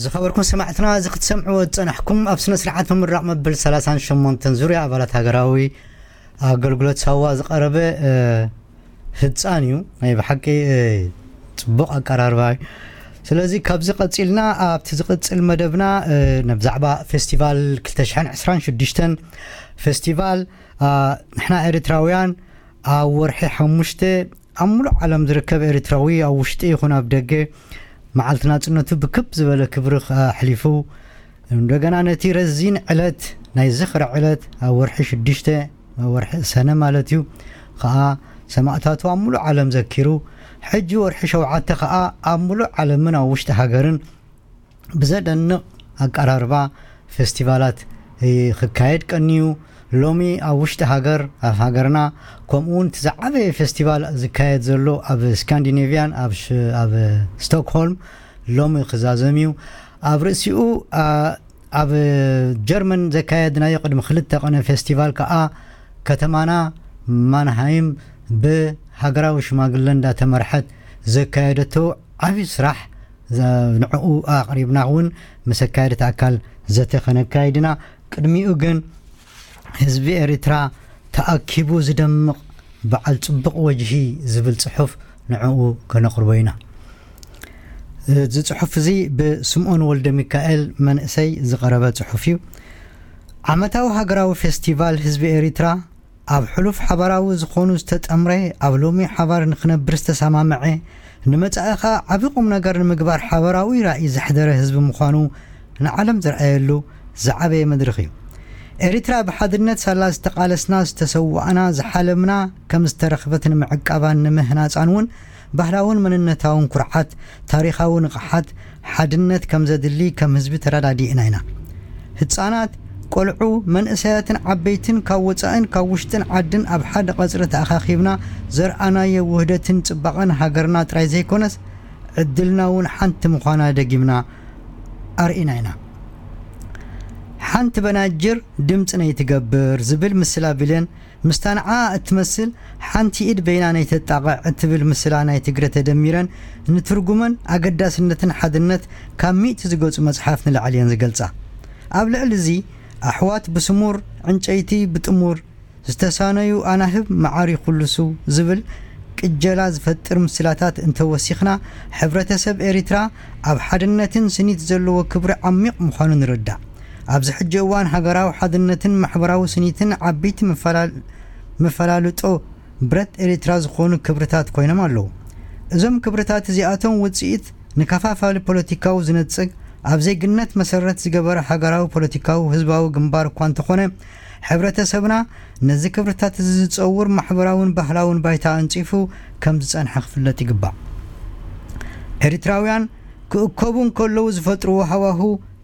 ዝኸበርኩም ሰማዕትና፣ እዚ ክትሰምዕዎ ዝጸናሕኩም ኣብ ስነ ስርዓት ምምራቕ መበል ሰላሳን ሸሞንተን ዙርያ ኣባላት ሃገራዊ ኣገልግሎት ሳዋ ዝቐረበ፣ እ፣ ህጻን እዩ። ናይ ብሓቂ፣ እ፣ ጽቡቕ ኣቀራርባ እዩ። ስለዚ ካብዚ ቀጺልና ኣብቲ ዝቕጽል መደብና፣ እ፣ ብዛዕባ ፌስቲቫል ክልተ ሽሕን ዕስራን ሽዱሽተን ፌስቲቫል፣ እ፣ ንሕና ኤርትራውያን ኣብ ወርሒ ሓሙሽተ ኣብ ሙሉእ ዓለም ዝርከብ ኤርትራዊ ኣብ ውሽጢ ይኹን ኣብ ደገ መዓልቲ ናጽነቱ ብክብ ዝበለ ክብሪ ኣሕሊፉ፣ እንደገና ነቲ ረዚን ዕለት ናይ ዝኽሪ ዕለት ኣብ ወርሒ ሽዱሽተ፣ ኣብ ወርሒ ሰነ ማለት እዩ፣ ከኣ ሰማእታቱ ኣብ ሙሉእ ዓለም ዘኪሩ፣ ሕጂ ወርሒ ሸውዓተ ከኣ ኣብ ሙሉእ ዓለምን ኣብ ውሽጢ ሃገርን ብዘደንቕ ኣቀራርባ ፌስቲቫላት፣ እ፣ ክካየድ ቀንዩ። ሎሚ ኣብ ውሽጢ ሃገር፣ ኣብ ሃገርና፣ ከምኡ እውን እቲ ዝዓበየ ፌስቲቫል ዝካየድ ዘሎ ኣብ ስካንዲኔቭያን፣ ኣብ ሽ-፣ ኣብ ስቶክሆልም ሎሚ ክዛዘም እዩ። ኣብ ርእሲኡ፣ ኣ፣ ኣብ ጀርመን ዘካየድናዮ ቅድሚ ክልተ ቀነ ፌስቲቫል ከኣ ከተማና ማንሃይም ብሃገራዊ ሽማግለ እንዳተመርሐት ዘካየደቶ ዓቢ ስራሕ ዘ-፣ ንዕኡ ኣቕሪብና እውን ምስ ኣካየድቲ ኣካል ዘተ ከነካይድ ኢና። ቅድሚኡ ግን ህዝቢ ኤርትራ ተኣኪቡ ዝደምቕ በዓል ጽቡቕ ወጅሂ ዝብል ጽሑፍ ንዕኡ ከነቕርቦ ኢና። እዚ ጽሑፍ እዚ ብስምኦን ወልደ ሚካኤል መንእሰይ ዝቐረበ ጽሑፍ እዩ። ዓመታዊ ሃገራዊ ፌስቲቫል ህዝቢ ኤሪትራ ኣብ ሕሉፍ ሓባራዊ ዝኾኑ ዝተጠምረ፣ ኣብ ሎሚ ሓባር ንኽነብር ዝተሰማምዐ፣ ንመጻኢ ኸኣ ዓቢ ቁም ነገር ንምግባር ሓባራዊ ራእይ ዘሕደረ ህዝቢ ምዃኑ ንዓለም ዘርኣየሉ ዝዓበየ መድረኽ እዩ። ኤሪትራ ብሓድነት ሳላ ዝተቓለስና፣ ዝተሰዋእና፣ ዝሓለምና ከም ዝተረኽበት ንምዕቃባን ንምህናጻን እውን ባህላውን መንነታውን ኩርዓት፣ ታሪኻዊ ንቕሓት፣ ሓድነት ከም ዘድሊ ከም ህዝቢ ተረዳዲእና ኢና። ህጻናት፣ ቆልዑ፣ መንእሰያትን ዓበይትን ካብ ወጻእን ካብ ውሽጥን ዓድን ኣብ ሓደ ቀጽሪ ተኣኻኺብና ዘርኣናዮ ውህደትን ጽባቐን ሃገርና ጥራይ ዘይኮነስ፣ ዕድልና እውን ሓንቲ ምዃና ደጊምና ኣርኢና ኢና። ሓንቲ በናጅር ድምጺ ነይትገብር ዝብል ምስላ ቢለን ምስታ ንዓ እትመስል ሓንቲ ኢድ በይና ነይተጣቕዕ እትብል ምስላ ናይ ትግረ ተደሚረን ንትርጉመን ኣገዳስነትን ሓድነት ካብ ሚእቲ ዝገጹ መጽሓፍ ንላዕሊ እየን ዝገልጻ። ኣብ ልዕሊ እዚ ኣሕዋት ብስሙር ዕንጨይቲ ብጥሙር ዝተሳነዩ ኣናህብ መዓር ይኹልሱ ዝብል ቅጀላ ዝፈጥር ምስላታት እንተወሲኽና፣ ሕብረተሰብ ኤሪትራ ኣብ ሓድነትን ስኒት ዘለዎ ክብሪ ዓሚቕ ምዃኑ ንርዳእ። ኣብዚ ሕጂ እዋን ሃገራዊ ሓድነትን ማሕበራዊ ስኒትን ዓበይቲ መፈላል-፣ መፈላልጦ ብረት ኤሪትራ ዝኾኑ ክብርታት ኮይኖም ኣለዉ። እዞም ክብርታት እዚኣቶም ውጽኢት ንከፋፋሊ ፖለቲካዊ ዝነጽግ፣ ኣብ ዜግነት መሰረት ዝገበረ ሃገራዊ ፖለቲካዊ ህዝባዊ ግንባር እኳ እንተኾነ፣ ሕብረተሰብና ነዚ ክብርታት እዚ ዝጸውር ማሕበራውን ባህላውን ባይታ ኣንጺፉ ከም ዝጸንሐ ክፍለጥ ይግባእ። ኤሪትራውያን ክእከቡ እንከለዉ ዝፈጥርዎ ሃዋሁ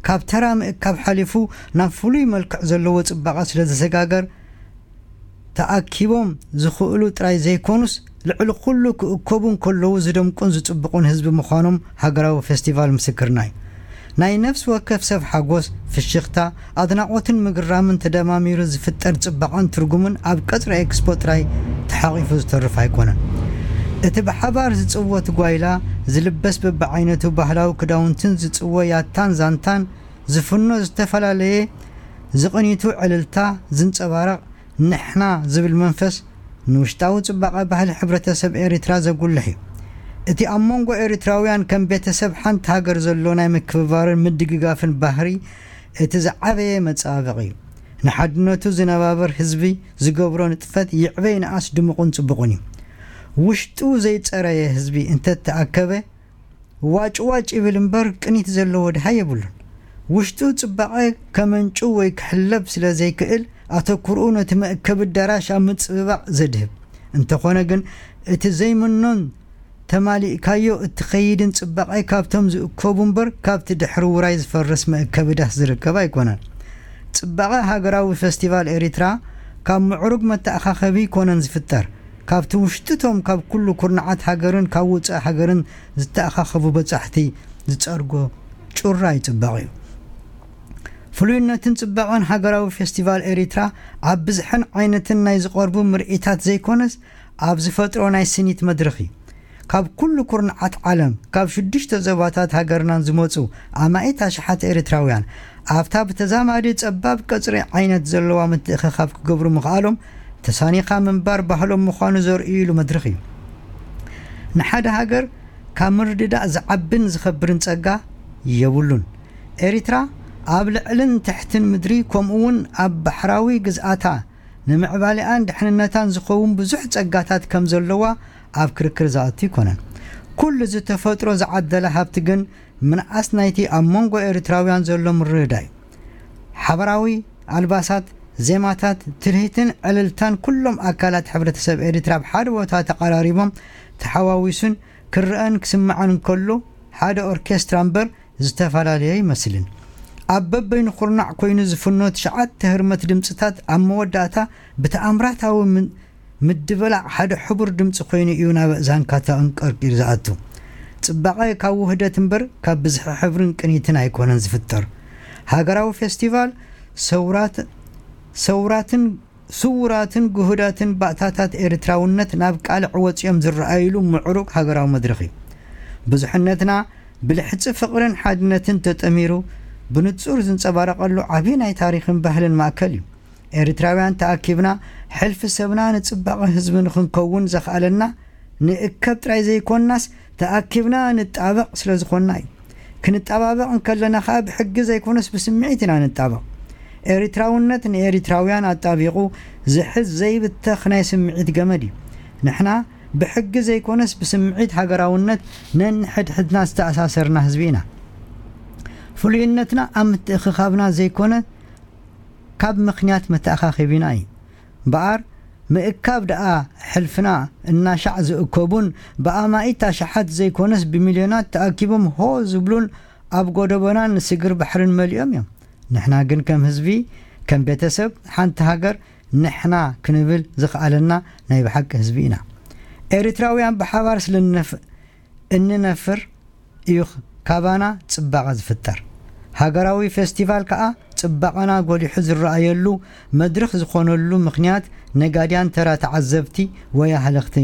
ካብ ተራ ምእካብ ሓሊፉ ናብ ፍሉይ መልክዕ ዘለዎ ጽባቐ ስለ ዝሰጋገር፣ ተኣኪቦም ዝኽእሉ ጥራይ ዘይኮኑስ፣ ልዕሊ ኩሉ ክእከቡ እንከለዉ ዝደምቁን ዝጽብቑን ህዝቢ ምዃኖም ሃገራዊ ፌስቲቫል ምስክርና እዩ። ናይ ነፍሲ ወከፍ ሰብ ሓጎስ፣ ፍሽኽታ፣ ኣድናቖትን ምግራምን ተደማሚሩ ዝፍጠር ጽባቐን ትርጉምን ኣብ ቀጽሪ ኤክስፖ ጥራይ ተሓቒፉ ዝተርፍ ኣይኮነን። እቲ ብሓባር ዝጽወት ጓይላ፣ ዝልበስ በብዓይነቱ ባህላዊ ክዳውንትን ዝጽወ ያታን ዛንታን፣ ዝፍኖ ዝተፈላለየ ዝቕኒቱ ዕልልታ ዝንጸባረቕ ንሕና ዝብል መንፈስ ንውሽጣዊ ጽባቐ ባህሊ ሕብረተሰብ ኤሪትራ ዘጉልሕ እዩ። እቲ ኣብ መንጎ ኤሪትራውያን ከም ቤተሰብ ሓንቲ ሃገር ዘሎ ናይ ምክብባርን ምድግጋፍን ባህሪ እቲ ዝዓበየ መጻባበቒ እዩ። ንሓድነቱ ዝነባብር ህዝቢ ዝገብሮ ንጥፈት ይዕበ ይንኣስ ድሙቕን ጽቡቕን እዩ። ውሽጡ ዘይጸረየ ህዝቢ እንተተኣከበ ዋጭ ዋጭ ይብል እምበር ቅኒት ዘለዎ ድሃ የብሉን። ውሽጡ ጽባቐ ከመንጩ ወይ ክሕለብ ስለ ዘይክእል ኣተኩርኡ ነቲ መእከቢ ኣዳራሽ ኣብ ምጽብባቕ ዘድህብ። እንተኾነ ግን እቲ ዘይምኖን ተማሊእካዮ እትኸይድን ጽባቐ ካብቶም ዝእከቡ እምበር ካብቲ ድሕሪ ውራይ ዝፈርስ መእከቢ ዳስ ዝርከብ ኣይኮነን። ጽባቐ ሃገራዊ ፌስቲቫል ኤሪትራ ካብ ምዕሩግ መተኣኻኸቢ ኣይኮነን ዝፍጠር፣ ካብቲ ውሽጥቶም ካብ ኩሉ ኩርናዓት ሃገርን ካብ ውጻእ ሃገርን ዝተኣኻኸቡ በጻሕቲ ዝጸርጎ ጩራ ይጽበቕ እዩ። ፍሉይነትን ጽባቐን ሃገራዊ ፌስቲቫል ኤሪትራ ኣብ ብዝሕን ዓይነትን ናይ ዝቐርቡ ምርኢታት ዘይኮነስ ኣብ ዝፈጥሮ ናይ ስኒት መድረኽ እዩ። ካብ ኩሉ ኩርናዓት ዓለም፣ ካብ ሽዱሽተ ዞባታት ሃገርናን ዝመጹ ኣማኢት ኣሽሓት ኤርትራውያን፣ ኣብታ ብተዛማዲ ጸባብ ቀጽሪ ዓይነት ዘለዋ ምትእኽኻብ ክገብሩ ምኽኣሎም፣ ተሳኒኻ ምንባር ባህሎም ምዃኑ ዘርእይሉ መድረኽ እዩ። ንሓደ ሃገር ካብ ምርድዳእ ዝዓብን ዝኸብርን ጸጋ የብሉን። ኤርትራ ኣብ ልዕልን ትሕትን ምድሪ፣ ከምኡ'ውን ኣብ ባሕራዊ ግዝኣታ፣ ንምዕባሌኣን ድሕንነታን ዝኸውን ብዙሕ ጸጋታት ከም ዘለዋ ኣብ ክርክር ዝኣቱ ኣይኮነን። ኩሉ እዚ ተፈጥሮ ዝዓደለ ሃብቲ ግን ምንኣስ ናይቲ ኣብ መንጎ ኤርትራውያን ዘሎ ምርድዳእ እዩ። ሓበራዊ ኣልባሳት፣ ዜማታት፣ ትልሂትን ዕልልታን ኩሎም ኣካላት ሕብረተሰብ ኤርትራ ኣብ ሓደ ቦታ ተቐራሪቦም ተሓዋዊሱን ክረኣን ክስማዕን እንከሎ፣ ሓደ ኦርኬስትራ እምበር ዝተፈላለየ ኣይመስልን። ኣብ በበይኑ ኩርናዕ ኮይኑ ዝፍኖ ትሽዓተ ህርመት ድምጽታት ኣብ መወዳእታ ብተኣምራታዊ ምን-፣ ምድብላዕ ሓደ ሕቡር ድምጺ ኮይኑ እዩ ናብ ኣእዛንካ ተቐንቀርቂሩ ዝኣቱ። ጽባቐ ካብ ውህደት እምበር ካብ ብዝሒ ሕብርን ቅኒትን ኣይኮነን ዝፍጠር። ሃገራዊ ፌስቲቫል ሰውራት-፣ ሰውራትን ስዉራትን ግሁዳትን ባእታታት ኤርትራውነት ናብ ቃልዕ ወጺኦም ዝረኣይሉ ምዕሩግ ሃገራዊ መድረኽ እዩ። ብዙሕነትና ብልሕጺ ፍቕርን ሓድነትን ተጠሚሩ ብንጹር ዝንጸባረቐሉ ዓቢ ናይ ታሪኽን ባህልን ማእከል እዩ። ኤርትራውያን ተኣኪብና ሕልፊ ሰብና ንጽባቐ ህዝቢ ንኽንከውን ዘኽኣለና ንእከብ ጥራይ ዘይኮንናስ ተኣኪብና ንጣበቕ ስለ ዝኾንና እዩ። ክንጣባበቕ እንከለና ኸኣ ብሕጊ ዘይኮነስ ብስምዒት ኢና ንጣበቕ። ኤርትራውነት ንኤርትራውያን ኣጣቢቑ ዝሕዝ ዘይብተኽ ናይ ስምዒት ገመድ እዩ። ንሕና ብሕጊ ዘይኮነስ ብስምዒት ሃገራውነት ነንሕድሕድና ዝተኣሳሰርና ህዝቢ ኢና። ፍሉይነትና ኣብ ምትእኽኻብና ዘይኮነ ካብ ምኽንያት መተኣኻኺቢና እዩ። እምበኣር ምእካብ ደኣ ሕልፍና እናሻዕ ዝእከቡን ብኣማኢት ኣሽሓት ዘይኮነስ ብሚልዮናት ተኣኪቦም ሆ ዝብሉን ኣብ ጎደቦናን ስግር ባሕርን መሊኦም እዮም። ንሕና ግን ከም ህዝቢ፣ ከም ቤተሰብ ሓንቲ ሃገር ንሕና ክንብል ዝኸኣለና ናይ ብሓቂ ህዝቢ ኢና። ኤርትራውያን ብሓባር ስለ እንነፍ-፣ እንነፍር እዩ ካባና ጽባቐ ዝፍጠር። ሃገራዊ ፌስቲቫል ከኣ ጽባቐና ጎሊሑ ዝረኣየሉ መድረኽ ዝኾነሉ ምኽንያት ነጋድያን ተራ ተዓዘብቲ ወይ ኣህለኽቲ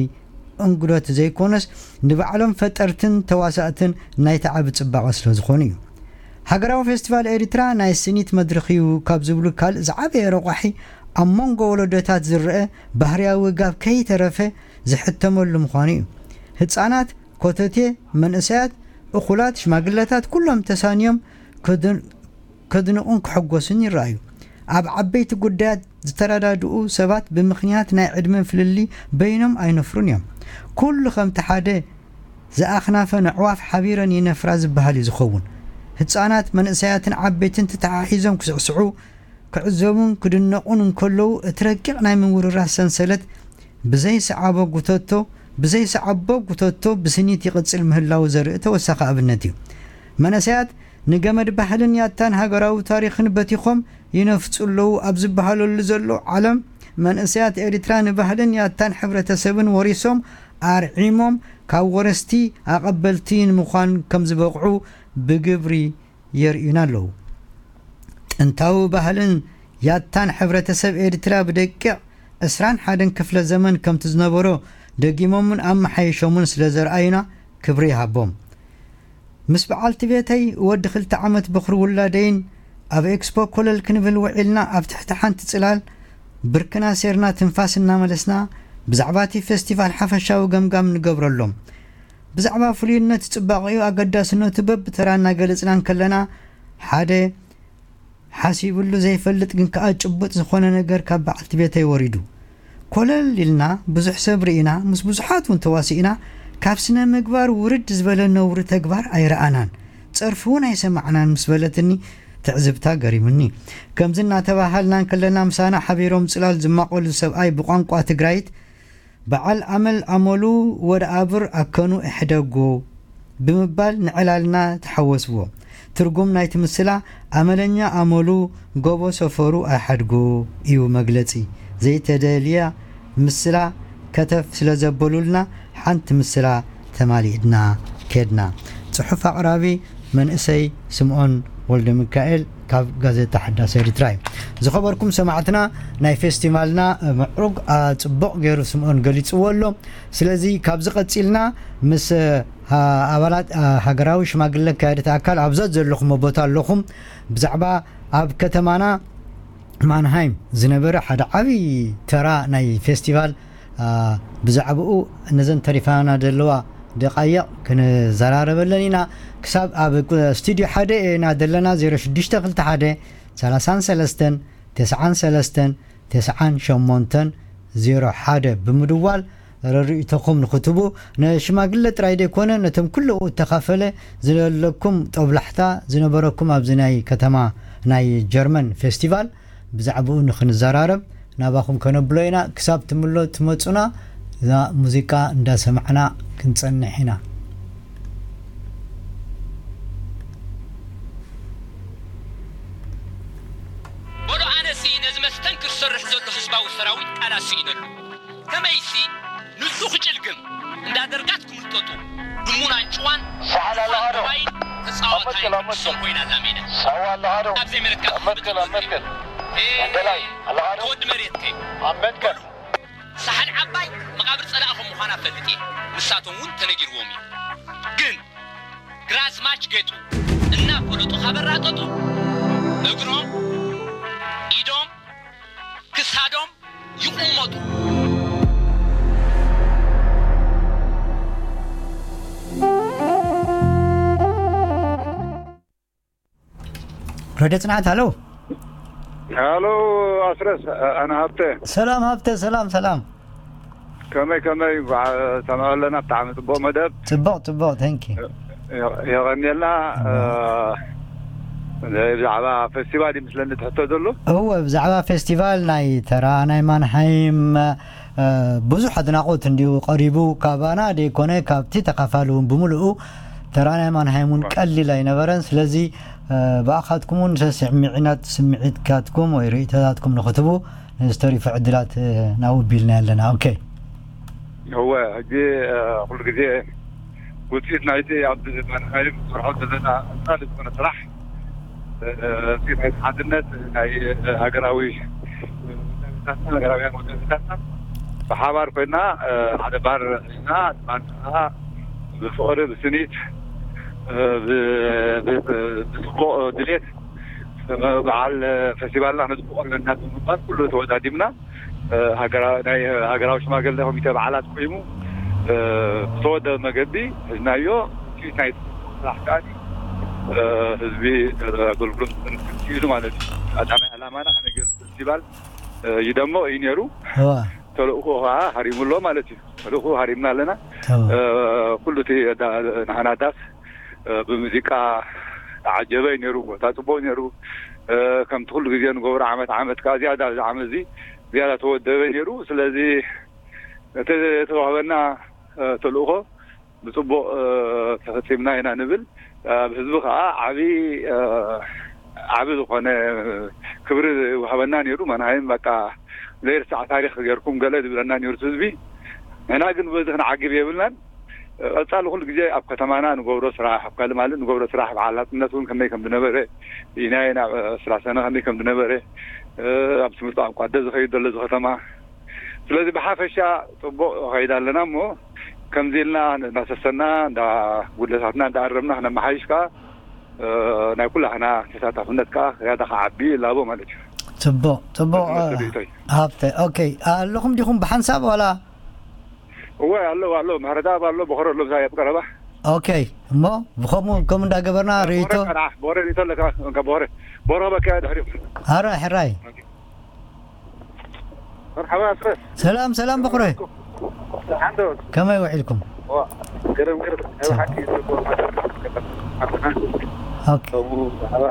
እንግዶት ዘይኮነስ ንባዕሎም ፈጠርትን ተዋሳእትን ናይቲ ዓቢ ጽባቐ ስለ ዝኾኑ እዩ። ሃገራዊ ፌስቲቫል ኤርትራ ናይ ስኒት መድረኽ እዩ ካብ ዝብሉ ካልእ ዝዓበየ ረቋሒ ኣብ መንጎ ወለዶታት ዝረአ ባህርያዊ ጋብ ከይተረፈ ዝሕተመሉ ምዃኑ እዩ። ህጻናት፣ ኮተቴ፣ መንእሰያት፣ እኹላት፣ ሽማግለታት ኩሎም ተሳንዮም ከድን-፣ ከድንቑን ክሕጎሱን ይረኣዩ። ኣብ ዓበይቲ ጉዳያት ዝተረዳድኡ ሰባት ብምኽንያት ናይ ዕድመ ፍልልይ በይኖም ኣይነፍሩን እዮም። ኩሉ ከምቲ ሓደ ዝኣኽናፈን ኣዕዋፍ ሓቢረን ይነፍራ ዝበሃል እዩ ዝኸውን። ህጻናት፣ መንእሰያትን ዓበይትን ተተሓሒዞም ክስዕስዑ፣ ክዕዘቡን ክድነቑን እንከለዉ፣ እቲ ረቂቕ ናይ ምውርራስ ሰንሰለት ብዘይሰዓቦ ጉተቶ፣ ብዘይሰዓቦ ጉተቶ ብስኒት ይቕጽል ምህላዉ ዘርኢ ተወሳኺ ኣብነት እዩ። መንእሰያት ንገመድ ባህልን ያታን ሃገራዊ ታሪኽን በቲኾም ይነፍጹ ኣለዉ ኣብ ዝበሃለሉ ዘሎ ዓለም፣ መንእሰያት ኤሪትራ ንባህልን ያታን ሕብረተሰብን ወሪሶም ኣርዒሞም ካብ ወረስቲ ኣቐበልቲ ንምዃን ከም ዝበቕዑ ብግብሪ የርእዩና ኣለዉ። ጥንታዊ ባህልን ያታን ሕብረተሰብ ኤሪትራ ብደቂቕ ዕስራን ሓደን ክፍለ ዘመን ከምቲ ዝነበሮ ደጊሞምን ኣመሓይሾምን ስለ ዘርኣዩና ክብሪ ይሃቦም። ምስ በዓልቲ ቤተይ ወዲ ክልተ ዓመት በኹሪ ውላደይን ኣብ ኤክስፖ ኮለል ክንብል ውዒልና ኣብ ትሕቲ ሓንቲ ጽላል ብርክና ሴርና ትንፋስ እናመለስና ብዛዕባ እቲ ፌስቲቫል ሓፈሻዊ ገምጋም ንገብረሎም። ብዛዕባ ፍሉይነት ጽባቐኡ ኣገዳስነቱ በብተራ እናገለጽና እንከለና ሓደ ሓሲብሉ ዘይፈልጥ ግን ከኣ ጭቡጥ ዝኾነ ነገር ካብ በዓልቲ ቤተይ ወሪዱ። ኮለል ኢልና ብዙሕ ሰብ ርኢና፣ ምስ ብዙሓት እውን ተዋሲእና፣ ካብ ስነ ምግባር ውርድ ዝበለ ነውሪ ተግባር ኣይረኣናን፣ ጸርፊ እውን ኣይሰማዕናን ምስ በለትኒ ትዕዝብታ ገሪሙኒ። ከምዚ እናተባሃልና እንከለና ምሳና ሓቢሮም ጽላል ዝማቐሉ ሰብኣይ ብቋንቋ ትግራይት በዓል ኣመል ኣመሉ ወደ ኣብር ኣከኑ እሕደጎ ብምባል ንዕላልና ተሓወስዎ። ትርጉም ናይቲ ምስላ ኣመለኛ ኣመሉ ጎቦ ሰፈሩ ኣይሓድጎ እዩ መግለጺ። ዘይተደልያ ምስላ ከተፍ ስለ ዘበሉልና ሓንቲ ምስላ ተማሊእና ኬድና። ጽሑፍ ኣቕራቢ መንእሰይ ስምኦን ወልደ ሚካኤል። ካብ ጋዜጣ ሓዳስ ኤርትራ እዩ። ዝኸበርኩም ሰማዕትና፣ ናይ ፌስቲቫልና ምዕሩግ፣ አ፣ ጽቡቕ ገይሩ ስምኦን ገሊጽዎ ኣሎ። ስለዚ ካብዚ ቀጺልና ምስ፣ አ፣ ኣባላት፣ አ፣ ሃገራዊ ሽማግለ ኣካያዲት ኣካል ኣብዛ ዘለኹም ቦታ ኣለኹም ብዛዕባ ኣብ ከተማና ማንሃይም ዝነበረ ሓደ ዓብዪ ተራ ናይ ፌስቲቫል፣ አ፣ ብዛዕባኡ ነዘን ተሪፋና ዘለዋ ደቃይቕ ክንዘራረበለን ኢና። ክሳብ ኣብ ቁ-፣ ስቱድዮ ሓደ ኢና ዘለና፣ ዜሮ ሽዱሽተ ክልተ ሓደ፣ ሰላሳን ሰለስተን፣ ተስዓን ሰለስተን፣ ተስዓን ሸሞንተን፣ ዜሮ ሓደ ብምድዋል ረድኢቶኹም ንኽትቡ፣ ንሽማግለ ጥራይ ዘይኮነ፣ ነቶም ኩሉ እተኻፈለ ዘለኩም ጦብላሕታ ዝነበረኩም ኣብዚ ናይ ከተማ ናይ ጀርመን ፌስቲቫል ብዛዕባኡ ንኽንዘራረብ ናባኹም ከነብሎ ኢና። ክሳብ ትምሎ-፣ ትመጹና እዛ ሙዚቃ እንዳሰማዕና ክንጸንሕ ኢና። በሉ ኣነሲ ነዚ መስተንክር ዝሰርሕ ዘሎ ህዝባዊ ሰራዊት ቃላት ስኢነሉ። ከመይሲ ንሱ ክጭልግም እንዳ ደርጋት ክምልጠጡ ድሙን ኣንጭዋን ሳሕል ኣለኻ ዶ? ሞባይል ተጻዋታይ ኣመትክል፣ ኣመትክል። ሰው ኮይና ኣላ ሜዳ። ሳዋ ኣለኻ ዶ? ኣብ ዘይመለካ ኣመትክል፣ ኣመትክል። ኤ፣ ወደላይ ኣለኻ ዶ? ወዲ መሬት ከይ ኣመትክል። ሳሕል ዓባይ መቓብር ጸላኢ ከም ምዃና ፈልጥ እየ። ንሳቶም እውን ተነጊርዎም እዩ። ግን ግራዝማች ጌጡ እናፈለጡ ካበራጠጡ እግሮም፣ ኢዶም፣ ክሳዶም ይቑመጡ። ረድዮ ጽንዓት፣ ሃሎ። ሃሎ ኣስረስ፣ ኣነ ሃብተ። ሰላም ሃብተ፣ ሰላም፣ ሰላም። ከመይ፣ ከመይ፣ ባ-፣ ሰማዕ ኣለና፣ ብጣዕሚ ጽቡቕ መደብ። ጽቡቕ፣ ጽቡቕ፣ thank you። የ-፣ የቐንየልና። ጽቡቕ። እ፣ ብዛዕባ ፌስቲቫል ይመስለኒ ትሕቶ ዘሎ። እወ፣ ብዛዕባ ፌስቲቫል ናይ ተራ ናይ ማንሃይም፣ እ፣ ብዙሕ ኣድናቖት እንድዩ ቀሪቡ፣ ካባና ደይኮነ፣ ካብቲ ተኻፋሊ እውን ብምልኡ፣ ተራ ናይ ማንሃይም እውን እወ። ቀሊል ኣይነበረን። ስለዚ፣ እ፣ ብኣኻትኩም እውን ሰስምዒናት ስምዒትካትኩም ወይ ርእይቶታትኩም ንኽትቡ፣ ንዝተሪፉ ዕድላት፣ እ፣ ናብኡ ቢልና ኣለና። ኦኬ። እወ፣ ሕጂ፣ እ፣ ኩሉ ግዜ ውፅኢት ናይቲ ኣብ ማንሃይም ንሰርሖ ዘለና ቀጻሊ ዝኾነ ስራሕ፣ እ፣ ውፅኢት ናይቲ ሓድነት ናይ ሃገራዊ ውዳቤታትና፣ ሃገራውያን ውዳቤታትና ብሓባር ኮይና፣ እ፣ ሓደ ባር ሒዝና፣ ድማ ብፍቕሪ፣ ብስኒት፣ እ፣ ብ-፣ ብ-፣ ብፅቡቕ ድሌት በዓል ፌስቲቫልና ክነፅብቆ ኣለና ብምባል ኩሉ ተወዳዲብና። እ፣ ሃገራ-፣ ናይ ሃገራዊ ሽማግለ ኮሚተ በዓላት ቆይሙ፣ እ፣ ብተወደበ መገዲ ሒዝናዮ። ውፅኢት ናይ ስራሕ ከኣ፣ እ፣ ህዝቢ፣ እ፣ ኣገልግሎት ክህሉ ማለት እዩ። ቀዳማይ ዕላማና ከመይ ገይሩ ፌስቲቫል፣ እ፣ ይደምቕ እዩ ነይሩ። እዋ። ተልእኾ ከኣ ሃሪሙ ኣሎ ማለት እዩ። ተልእኾ ሃሪምና ኣለና። እዋ። እ፣ ኩሉ እቲ ዳ-፣ ንሓና ዳስ፣ እ፣ ብሙዚቃ ተዓጀበ እዩ ነይሩ። ቦታ ጽቡቕ ነይሩ። እ፣ ከምቲ ኩሉ ግዜ ንገብሮ ዓመት ዓመት ከኣ ዝያዳ ኣብዚ ዓመት እዚ ዝያዳ ተወደበ ነይሩ። ስለዚ እቲ ዝተዋህበና፣ እ፣ ተልእኾ ብጽቡቕ፣ እ፣ ተፈጺምና ኢና ንብል። ኣብ ህዝቢ ከኣ ዓቢ፣ እ፣ ዓቢ ዝኾነ ክብሪ ይወሃበና ነይሩ። ማንሃይም በቃ ዘይርሳዕ ታሪኽ ጌርኩም ገለ ዝብለና ነይሩ እቲ ህዝቢ። ንሕና ግን በዚ ክንዓግብ የብልናን። ቀጻሊ ኩሉ ግዜ ኣብ ከተማና ንገብሮ ስራሕ፣ ኣብ ካልእ ማለት ንገብሮ ስራሕ፣ በዓል ናጽነት እውን ከመይ ከም ዝነበረ፣ ኢናይ ናብ ስላሰነ ከመይ ከም ዝነበረ፣ እ፣ ኣብ ትምህርቲ ቋንቋ ኣደ ዝኸይድ ዘሎ እዚ ከተማ። ስለዚ ብሓፈሻ ጽቡቕ ከይድ ኣለና እሞ፣ ከምዚ ኢልና እንዳሰሰና፣ እንዳ ጉድለታትና እንዳኣረምና ክነመሓይሽ ከኣ፣ እ፣ ናይ ኩላህና ተሳታፍነት ከኣ ዝያዳ ክዓቢ ይላቦ ማለት እዩ። ጽቡቕ፣ ጽቡቕ፣ እቲ መስል እ፣ ርእይቶይ። ሃብተ። ኦኬ፣ ኣለኹም ዲኹም ብሓንሳብ ዋላ? እወ፣ ኣሎ፣ ኣሎ። ምሕረተኣብ ኣሎ፣ በኾረ ኣሎ፣ ምሳይ ኣብ ቀረባ። ኦኬ፣ እሞ ብኸምኡ፣ ከምኡ እንዳገበርና በኾረ ርእይቶ። ቀርዓ፣ በኾረ ርእይቶ ኣለካ፣ እንካ በኾረ። በኾረ በካ ድሕሪኡ። ኣረ፣ ሕራይ። መርሓባ ኣስረስ። ሰላም፣ ሰላም፣ በኹረ። ደሓን ዶ? ከመይ ውዒልኩም? ዋ፣ ገረም፣ ገረም። ናይ ሰላም። ብሓቂ ጽቡቕ መደብ። ኦኬ። ከምኡ ብዛዕባ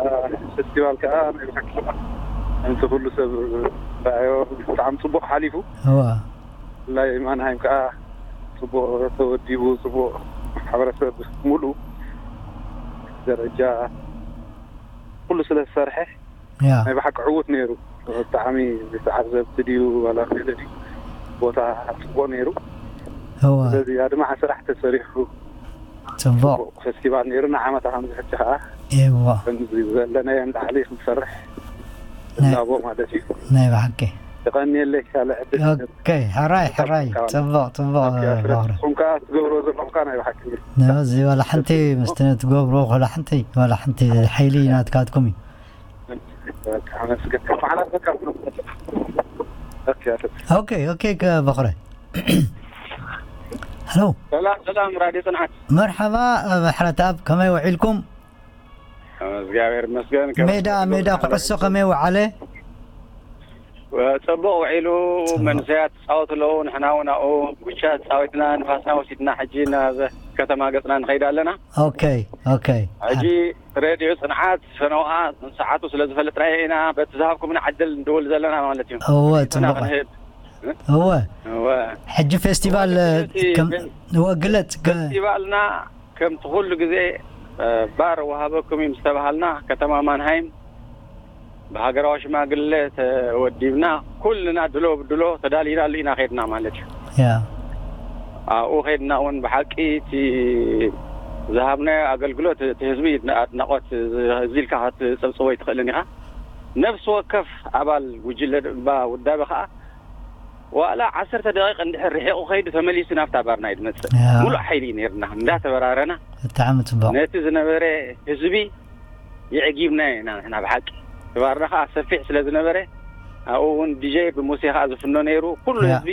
ፌስቲቫል ከኣ ናይ ብሓቂ ከምቲ ኩሉ ሰብ ረኣዮ ብጣዕሚ ጽቡቕ ሓሊፉ። እዋ። ብፍላይ ማንሃይም ከኣ ጽቡቕ ተወዲቡ፣ ጽቡቕ ማሕበረሰብ ሙሉእ ደረጃ ኩሉ ስለ ዝሰርሐ ያ። ናይ ብሓቂ ዕዉት ነይሩ። ብጣዕሚ ተዓዘብቲ ድዩ ዋላ ገለ ድዩ ቦታ ጽቡቕ ነይሩ። እዋ። ስለዚ ኣድማዒ ስራሕ ተሰሪሑ። ጽቡቕ። ጽቡቕ ፌስቲቫል ነይሩ። ንዓመታ ከምዚ ሕጂ ከኣ እዋ። ከምዚ ዘለናዮ ንላዕሊ ክንሰርሕ ናይ እላቦ ማለት እዩ። ናይ ብሓቂ። የቐንየለይ ካልእ ዕድል። ኦኬ፣ ሕራይ፣ ሕራይ። ጽቡቕ፣ ጽቡቕ፣ ኦኬ፣ ኣፍረት። ባሕሪ። ንስኹም ከኣ ትገብርዎ ዘለኹም ከኣ ናይ ብሓቂ እዩ። ነዚ ዋላ ሓንቲ ምስቲ ትገብርዎ ዋላ ሓንቲ፣ ዋላ ሓንቲ ሓይሊ ናትካትኩም እዩ። በቃ፣ ኣመስግን። ከመሓላልፈካ። ኦኬ፣ ኣፍረት። ኦኬ፣ ኦኬ፣ ከ-፣ በኽረ። ሄሎ። ሰላም፣ ሰላም፣ ራድዮ ጽንዓት። መርሓባ፣ ምሕረተኣብ፣ ከመይ ውዒልኩም? እግዚኣብሔር ይመስገን። ሜዳ፣ ሜዳ ኩዕሶ ከመይ ውዓለ? ጽቡቕ ውዒሉ፣ ጽቡቕ። መንእሰያት ይጻወቱ ኣለዉ፣ ንሕና እውን ኣብኡ ጉቻ ተጻዊትና፣ ንፋስና ወሲድና፣ ሕጂ ናብ ከተማ ገጽና ንኸይድ ኣለና። ኦኬ፣ ኦኬ። ሕጂ ሬድዮ ጽንዓት ፈነውኣ ሰዓቱ ስለ ዝፈለጥናዮ ኢና፣ በቲ ዝሃብኩምና ዕድል ንድውል ዘለና ማለት እዩ። እወ፣ ንሕና ጽቡቕ። ክንህብ። እወ። እወ። ሕጂ ፌስቲቫል፣ እቲ ከም፣ እወ፣ ግለጽ፣ ገ- ፌስቲቫልና ከምቲ ኩሉ ግዜ፣ እ፣ ባር ወሃበኩም እዩ ምስ ተባሃልና፣ ከተማ ማንሃይም ብሃገራዊ ሽማግለ ተወዲብና፣ ኩልና ድሎ ብድሎ ተዳሊናሉ ኢና ኸድና ማለት እዩ። ያ። ኣብኡ ኸድና እውን ብሓቂ እቲ ዝሃብናዮ ኣገልግሎት፣ እቲ ህዝቢ ኣድናቖት፣ ህዝቢ ኢልካ ክትጽብጽቦ ኣይትኽእልን ኢኻ። ነፍሲ ወከፍ ኣባል ጉጅለ እባ ውዳበ ኸኣ ዋላ ዓሰርተ ደቂቕ እንድሕር ርሒቑ ኸይዱ ተመሊሱ ናብታ ባርና እዩ ዝመጽእ። ያ። ሙሉእ ሓይሊ እዩ ነይርና። እንዳተበራረና ብጣዕሚ ጽቡቕ። ነቲ ዝነበረ ህዝቢ የዕጊብናዮ ኢና ንሕና ብሓቂ። እቲ ባርና ኸኣ ሰፊሕ ስለ ዝነበረ ኣብኡ እውን ዲጀ ብሙሴ ኸኣ ዝፍኖ ነይሩ። ኩሉ ያ። ህዝቢ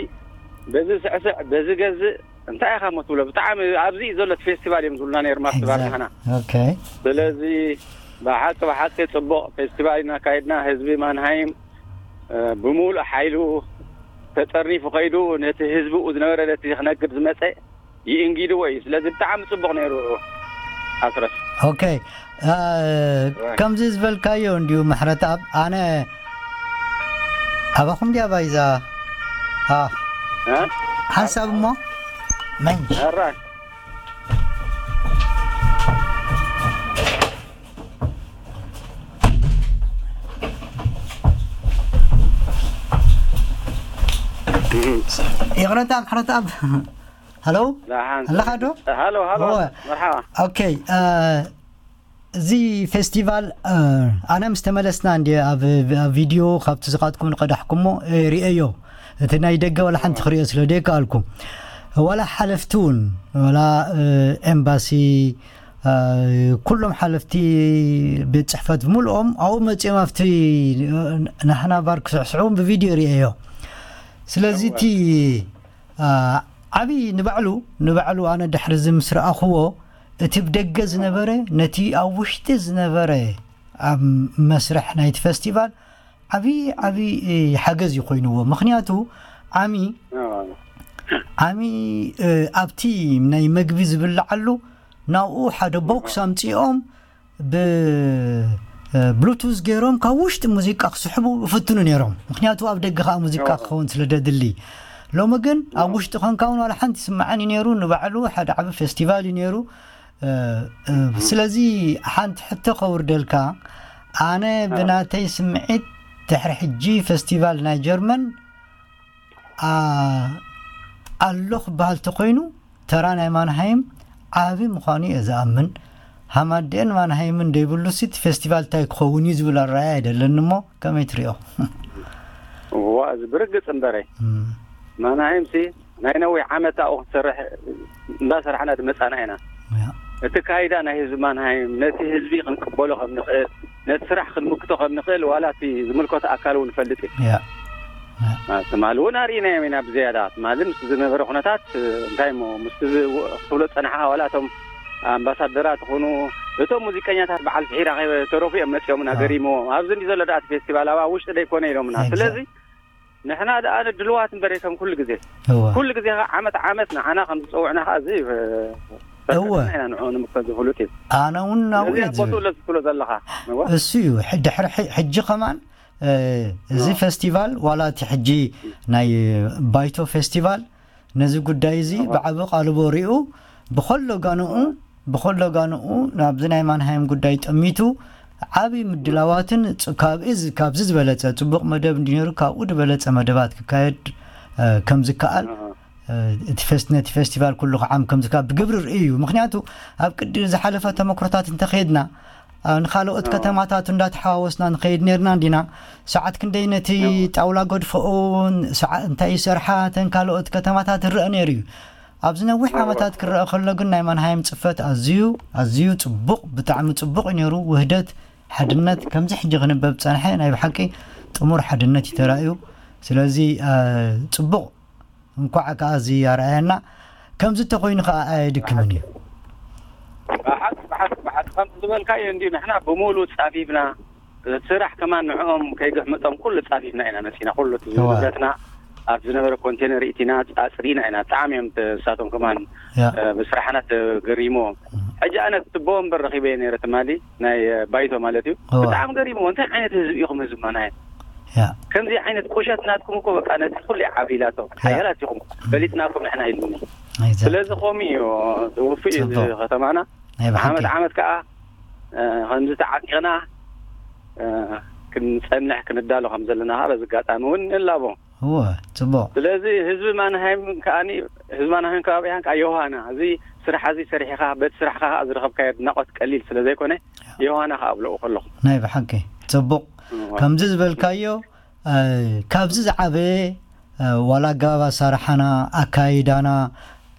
በዚ ስዕስዕ፣ በዚ ገዝእ፣ እንታይ ኢኻ እሞ ትብሎ? ብጣዕሚ ኣብዚ እዩ ዘሎ እቲ ፌስቲቫል እዮም ዝብሉና ነይሮም ኣብቲ ባር ንሕና። ኦኬ። ስለዚ ብሓቂ፣ ብሓቂ ጽቡቕ ፌስቲቫል ኢና ኣካይድና። ህዝቢ ማንሃይም፣ እ፣ ብምሉእ ሓይሉ ተጠርኒፉ ከይዱ ነቲ ህዝብኡ ዝነበረ ነቲ ክነግድ ዝመጸ ይእንጊድዎ እዩ። ስለዚ ብጣዕሚ ጽቡቕ ነይሩ ኣስረስ። ኦኬ። እ፣ ከምዚ ዝበልካዮ እንድዩ ምሕረተኣብ፣ ኣነ ኣባኹም ድያ ባይዛ? ኣ፣ እ? ሓንሳብ እሞ፣ መንሽ። ኣራይ። ይቕረታ፣ ምሕረተኣብ። ሃሎ? ደሓን። ኣለኻ ዶ? ሃሎ፣ ሃሎ። እወ። መርሓባ። ኦኬ፣ እ፣ እዚ ፌስቲቫል፣ እ፣ ኣነ ምስ ተመለስና እንድየ ኣብ፣ ኣብ ቪድዮ ካብቲ ዝኻትኩም ንቐዳሕኩሞ፣ እ፣ ርእየዮ። እቲ ናይ ደገ ዋላ ሓንቲ ክርእዮ ስለ ደይከኣልኩ። ዋላ ሓለፍቲ እውን፣ ዋላ፣ እ፣ ኤምባሲ፣ እ፣ ኩሎም ሓለፍቲ ቤት ጽሕፈት ብምልኦም ኣብኡ መጺኦም ኣብቲ፣ እ፣ ናህና ባር ክስዕስዑ ብቪድዮ ርእየዮ። ስለዚ እወ። እቲ፣ እ፣ ዓቢ ንባዕሉ፣ ንባዕሉ ኣነ ድሕሪ እዚ ምስ ረኣኽዎ፣ እቲ ብደገ ዝነበረ ነቲ ኣብ ውሽጢ ዝነበረ ኣብ መስርሕ ናይቲ ፈስቲቫል ዓቢ፣ ዓቢ፣ እ፣ ሓገዝ እዩ ኮይንዎ። ምኽንያቱ ዓሚ፣ ኣዎ። ዓሚ፣ እ፣ ኣብቲ ናይ መግቢ ዝብልዓሉ ናብኡ ሓደ ቦክስ ኣምጺኦም ብ-፣ እ፣ ብሉቱዝ ገይሮም ካብ ውሽጢ ሙዚቃ ክስሕቡ ይፍትኑ ነይሮም። ምኽንያቱ ኣብ ደገ ከኣ ሙዚቃ ኣዎ። ክኸውን ስለ ደድሊ። ሎሚ ግን ኣብ ኣዎ። ውሽጢ ኾንካ እውን ዋላ ሓንቲ ይስምዓን እዩ ነይሩ። ንባዕሉ ሓደ ዓቢ ፌስቲቫል እዩ ነይሩ። እ፣ እ፣ እም። ስለዚ ሓንቲ ሕቶ ከውርደልካ፣ ኣነ ኣዎ። ብናተይ ስምዒት ድሕሪ ሕጂ ፈስቲቫል ናይ ጀርመን፣ ኣ-፣ ኣሎ ክበሃል ተኾይኑ፣ ተራ ናይ ማንሃይም ዓቢ ምዃኑ እየ ዝኣምን። ሃማደኤን ማንሃይምን ደይብሉሲ እቲ ፌስቲቫል እንታይ ክኸውን እዩ ዝብል ኣረኣእያ ኣይደለኒ እሞ፣ ከመይ ትሪኦ? እዋ፣ እዚ ብርግጽ እምበረይ። እም። ማንሃይምሲ ናይ ነዊሕ ዓመት ኣብኡ ክትሰርሕ እንዳሰራሕና ድመጻና ኢና። ያ። እቲ ካይዳ ናይ ህዝቢ ማንሃይም፣ ነቲ ህዝቢ ክንቅበሎ ከም ንኽእል፣ ነቲ ስራሕ ክንምክቶ ከም ንኽእል፣ ዋላ እቲ ዝምልከቶ ኣካል እውን ይፈልጥ እዩ። ያ። ያ። አ፣ ትማሊ እውን ኣርኢናዮም ኢና ብዝያዳ። ትማሊ ምስ ዝነበረ ኩነታት፣ እ፣ እንታይ እሞ፣ ምስቲ ዝ-፣ ክትብሎ ዝጸናሕኻ፣ ዋላ እቶም ኣምባሳደራት ይኹኑ፣ እቶም ሙዚቀኛታት በዓል ፍሒራ ከይተረፉ እዮም መጺኦምና፣ ያ። ገሪምዎም። ኣብዚ እንዲ ዘሎ ደኣ እቲ ፌስቲቫል፣ ኣብ ውሽጢ ደይኮነ ኢሎምና። ኤግዛክት። ስለዚ ንሕና ደኣ ንድልዋት እምበር ከም ኩሉ ግዜ። እወ። ኩሉ ግዜ ኸዓ ዓመት ዓመት ንዓና ከም ዝጸውዕና ኸዓ እዚ፣ እ፣ እወ። ፈቀድና ኢና ንዕኡ ንምክቶ ዝፍሉጥ እዩ። ኣነ እውን ናብኡ ስለዚ እየ ኣብ ቦትኡ ዝብል። ስለ ዘለኻ። እወ። እሱ እዩ። ሕ-፣ ድሕሪ ሕ-፣ ሕጂ ከማን፣ እ፣ እዚ እወ። ፈስቲቫል ዋላ እቲ ሕጂ ናይ ባይቶ ፌስቲቫል ነዚ ጉዳይ እዚ እወ። ብዓቢ ቃልቦ ሪኡ ብኸሎ ጋንኡ፣ እወ። ብኸሎ ጋንኡ ናብዚ ናይ ማንሃይም ጉዳይ ጠሚቱ ዓቢ ምድላዋትን ጽ-፣ ካብ እዚ፣ ካብዚ ዝበለጸ ጽቡቕ መደብ እንዲ ነይሩ ካብኡ ዝበለጸ መደባት ክካየድ፣ እ፣ ከም ዝከኣል፣ እወ። እቲ ፌስት ነቲ ፌስቲቫል ኩሉ ክዓም ከምዚ ካብ ብግብሪ ርእዩ እዩ። ምክንያቱ ኣብ ቅዲ ዝሓለፈ ተመክሮታት እንተኸይድና፣ ንካልኦት ከተማታት እንዳተሓዋወስና ንኸይድ ነርና እንዲና። ሰዓት ክንደይ ነቲ ጣውላ ገድፈኡን እንታይ ይሰርሓ ተን ካልኦት ከተማታት ይረአ ነይሩ እዩ። ኣብዚ ነዊሕ ዓመታት ክረአ ከሎ ግን ናይ ማንሃይም ጽፈት ኣዝዩ ኣዝዩ ጽቡቕ፣ ብጣዕሚ ጽቡቕ እዩ ነይሩ። ውህደት፣ ሓድነት ከምዚ ሕጂ ክንበብ ጸንሐ ናይ ብሓቂ ጥሙር ሓድነት እዩ ተራእዩ። ስለዚ ጽቡቕ፣ እንኳዕ ከኣ እዚ ኣርኣየና። ከምዚ ተኮይኑ ከኣ ኣየድክምን እዩ። ብሓቂ ብሓቂ ብሓቂ ከምቲ ዝበልካዮ እንዲ ንሕና ብሙሉ ጻፊፍና ስራሕ ከማን ንዕኦም ከይግሕምጦም ኩሉ ጻፊፍና ኢና መጺና ኩሉ እቲ ንብረትና ኣብ ዝነበረ ኮንቴነር ኢቲና ኣጽሪና ኢና። ብጣዕሚ እዮም ንሳቶም ከማን ብስራሕና ተገሪሞም። ሕጂ ኣነ ትቦ እምበር ረኺበ ነይረ ትማሊ ናይ ባይቶ ማለት እዩ። ብጣዕሚ ገሪሞ እንታይ ዓይነት ህዝቢ ኢኹም ህዝቢ ማናየ ከምዚ ዓይነት ቁሸት ናትኩም እኮ በቃ ነቲ ኩሉ ዓቢላቶ ሓያላት ኢኹም ፈሊጥናኩም ንሕና ኢሉኒ። ስለዚ ከምኡ እዩ ውፍእ እዩ እዚ ከተማና። ዓመት ዓመት ከዓ ከምዚ ተዓጢቕና ክንፀንሕ ክንዳሎ ከም ዘለና ከዓ በዚ ኣጋጣሚ እውን ንላቦ። እወ፣ ፅቡቕ። ስለዚ ህዝቢ ማንሃይም ከዓኒ ህዝቢ ማንሃይም ከባቢያን ከዓ ዮሃና እዚ ስራሕ እዚ ሰሪሕኻ በቲ ስራሕኻ ከዓ ዝረኸብካዮ ኣድናቖት ቀሊል ስለ ዘይኮነ ዮሃና ከዓ ኣብለኡ ከለኹ። ናይ ብሓቂ ፅቡቕ። ከምዚ ዝበልካዮ ካብዚ ዝዓበየ ዋላ ኣገባብ ኣሳርሓና ኣካይዳና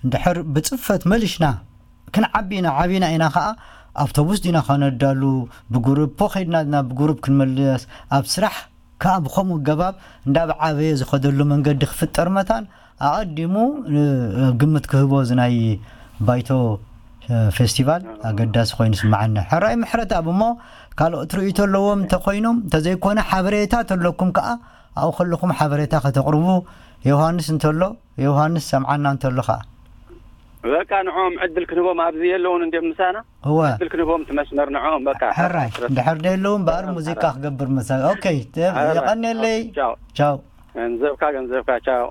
እንድሕር ብፅፈት መሊሽና ክንዓቢ ኢና። ዓቢና ኢና ከዓ ኣውቶቡስ ዲና ከነዳሉ ብጉሩፕ ፖ ከይድና ዲና ብጉሩፕ ክንመልስ ኣብ ስራሕ ከዓ ብከምኡ ኣገባብ እንዳብ ዓበየ ዝኸደሉ መንገዲ ክፍጠር መታን ኣቐዲሙ ግምት ክህቦ እዚ ናይ ባይቶ ፌስቲቫል ኣገዳሲ ኮይኑ ስምዓኒ። ሕራይ ምሕረት ኣብ እሞ ካልኦት ርእይቶ ኣለዎም እንተኮይኖም እንተዘይኮነ ሓበሬታ ተለኩም ከዓ ኣብኡ ከለኹም ሓበሬታ ከተቕርቡ ዮሃንስ እንተሎ ዮሃንስ ሰምዓና እንተሎ ከዓ በቃ ንዕኦም ዕድል ክንቦም ኣብዚ የለውን እንዲም ምሳና እወ ዕድል ክንቦም ትመስመር ንዕኦም በቃ ሕራይ ድሕር ደየለውን በኣር ሙዚቃ ክገብር መሳ ኦኬ የቐንየለይ ቻው ገንዘብካ ገንዘብካ ቻው